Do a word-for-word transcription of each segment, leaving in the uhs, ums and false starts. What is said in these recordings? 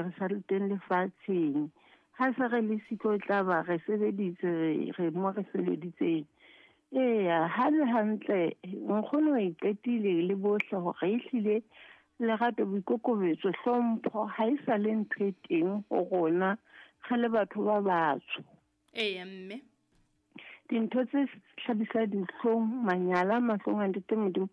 re sa le teng lefatsheng. Ha se re le siko tla ba re sebeditse re re mo re sebeditseng. Eya, ha le hantle nkgono e qetile le bohle hore ehlile lerato, boikokobetso, hlompho ha e sa le ntho e teng ho rona re le batho ba batsho. Eya mme. Dintho tse hlabisa dihlong, manyala mahlong a Ntate Modimo.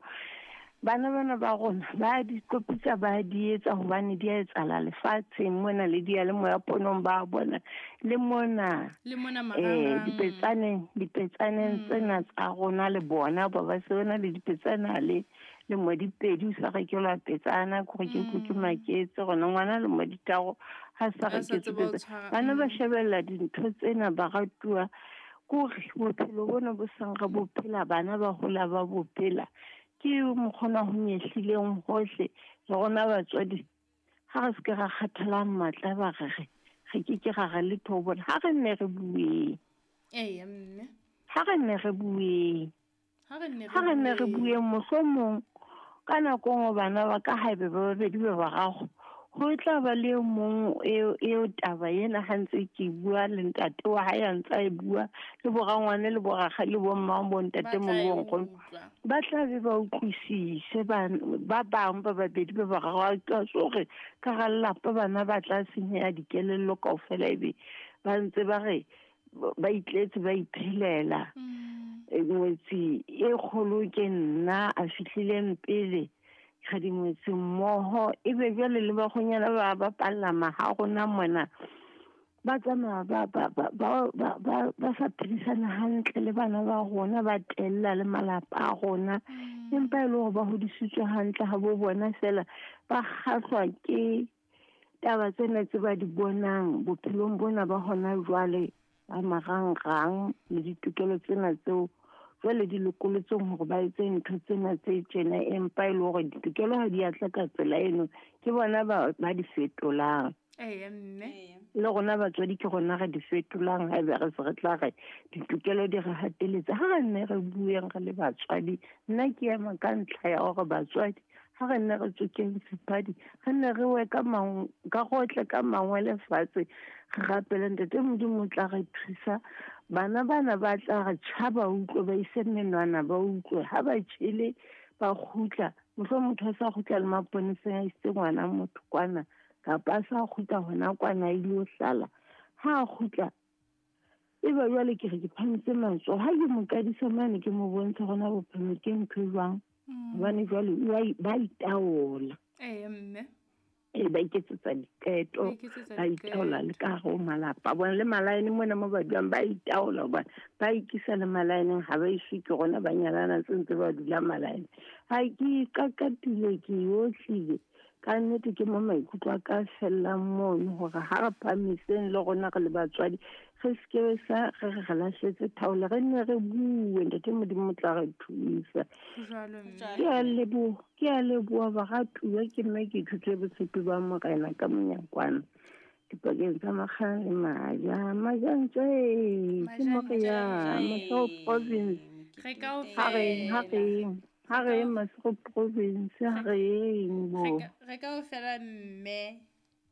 Bana bana ba rona ba di kopitsa, ba di etsa hobane di a etsahala lefatsheng mona le diyalemoya ponong ba bona le mona Le mona eh marangrang. dipetsaneng, dipetsaneng tsena tsa rona le bona ba ba se bona le dipetsana le le mo dipedi o sa rekelwa petsana ke gore ke utlwe ke maketse gona ngwana le mo ditharo ha sa A sa reketswe tseba ho petsana. tshwara, Bana ba mm. shebella dintho tsena ba ratuwa kore bophelo bona bo seng re bo phela, bana ba hola ba bo phela. Ke mokgona ho nyehlileng hohle le rona batswadi ha re se ke ra kgathala matla ba re re re ke ke ra re letho ho bona. Ha re nne re bueng. Eya mme. Ha re nne re bueng. Ha re nne Ha re nne re bueng. bueng mohlomong ka nako e nngwe bana ba ka haebe ba babedi ba bararo ho tla ba le e mong eo, eo taba ena ha ntse ke bua le ntate wa hae a ntse a e bua le bo rangwane le bo rakgadi le bo mmang bo ntate Ba tla moholo e bo nkgono. utlwa. Ba tla be ba utlwisise ba, ba bang ba babedi ba bararo a ka so hore ka hara lelapa bana ba tla senyeha dikelello kaofela ebe ba ntse ba re ba itletse ba iphelela. Mm. E, ngwetsi e kgolo ke nna a fihlileng pele re dingwetsi mmoho ebe jwale le bakgonyana ba bapalla maha rona mona ba tsamaya ba, ba, ba, ba, ba, ba, ba sa phedisana hantle le bana ba rona, ba tella le malapa a rona. Mm. Empa e le hore ba hodisitswe hantle ha bo bona feela ba kgahlwa ke taba tsena tse ba di bonang bophelong bona ba hona jwale ba marangrang le ditokelo tsena tseo jwale di lokolotseng hore ba etse ntho tsena tse tjena, empa e le hore ditokelo ha di a tla ka tsela eno, ke bona ba, ba di fetolang. Eya mme. Eya. Le rona batswadi ke rona re di fetolang haebe re se re tla re ditokelo di re hateletse. Ha re nne re bueng re le batswadi, nna ke ema ka ntlha ya hore batswadi ha re nne re tsokeng sephadi, re nne re we ka mang-, ka gotle ka mangwele fatshe, re rapele Ntate Modimo o tla re thusa. Bana bana ba tla re tjha ba utlwe, ba ise menwana ba utlwe. Ha ba tjhele ba kgutla, mohlomong motho a sa kgutla le maponeseng a isitse ngwana motho kwana, kapa a sa kgutla hona kwana a ilo hlala. Ha a kgutla, e ba jwale ke re ke phahamise matsoho. Ha ke mo qadisa mane ke mo bontsha hore na bophelo ke ntho e jwang. Mm. Hobane jwale o a i-, ba itaola. Eya mme. E ba iketsetsa diqeto, Ba iketsetsa ba itaola le diqeto. ka hare ho malapa a bona. Le malaene mona mo ba dulang ba itaola hobane ba ikisa le malaeneng, ha ba iswe ke rona ba nyalana tse ntse ba dula malaene. Ha ke iqaqatile, ke otlile. Ka nnete ke mo maikutlo a ka fellang mono hore ha re phahamiseng le rona re le batswadi, re se ke sa re re re lahletse thaola, re nne re bue, Ntate Modimo o tla re thusa. Ho jwalo mme. Jwalo. Ke a leboha, ke a leboha baratuwa, ke mme ke ithutile botshepi ba Morena ka monyakwana dipakeng tsa Makgane le Maja. Majantse, ke mo re yang, Moshow Province. Re kaofela. Ha re, ha re, ha re Moshow Province, ha re eng bo. Re ka, re kaofela mme.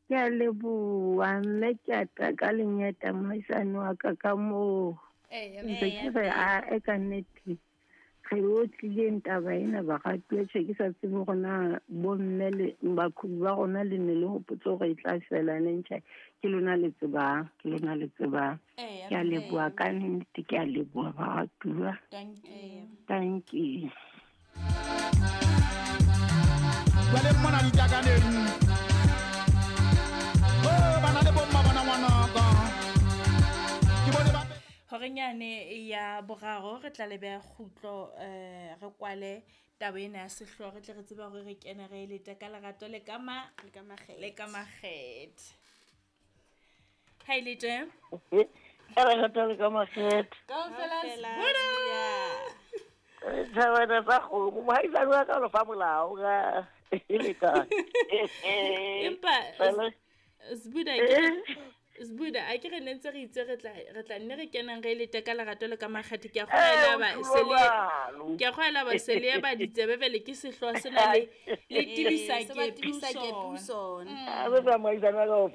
Ke a leboha, mme ke a tla ka lenyata mohaisane wa ka ka moo. Eya, Ntse ke mme. re, a, e ka nnete, re otlileng taba ena baratuwa, tjhe ke sa tsebe hore na bomme le baqhubu ba rona le ne le hopotse hore e tla fela neng. Tjhe, ke lona le tsebang, ke lona le tsebang. Eya, Ke a mme. leboha ka nnete, ke a leboha baratuwa. Thank you. Thank you. Jwale mona ditakaneng. Oh, bana le bomma bana ngwanaka. Ke bone ba Horeng yane ya boraro re tla le beha kgutlo, eh, re kwale taba ena ya sehlooho, re tle re tsebe hore re kene re e lete ka lerato le ka ma-, Le ka makgethe. le ka makgethe. Ha e le teng? Ka lerato le ka makgethe. Kaofela Kaofela Sbuda. Sbuda. Thabana tsa kgomo, mohaisane wa ka o fa molao ka e le ka. Empa Fela. Sbuda, ke Sbuda, a ke re ne ntse re itse re tla, re tla nne re kenang re lete ka lerato le ka makgethe. Ke a kgolwa Eh, ba o se le jwalo. ke a kgolwa ba se le ba ditsebe bele ke sehlooho sena le, le Eh, tibisa se ba ke tibisa ke puso. puso. Mm. A re tsa mohaisane wa ka o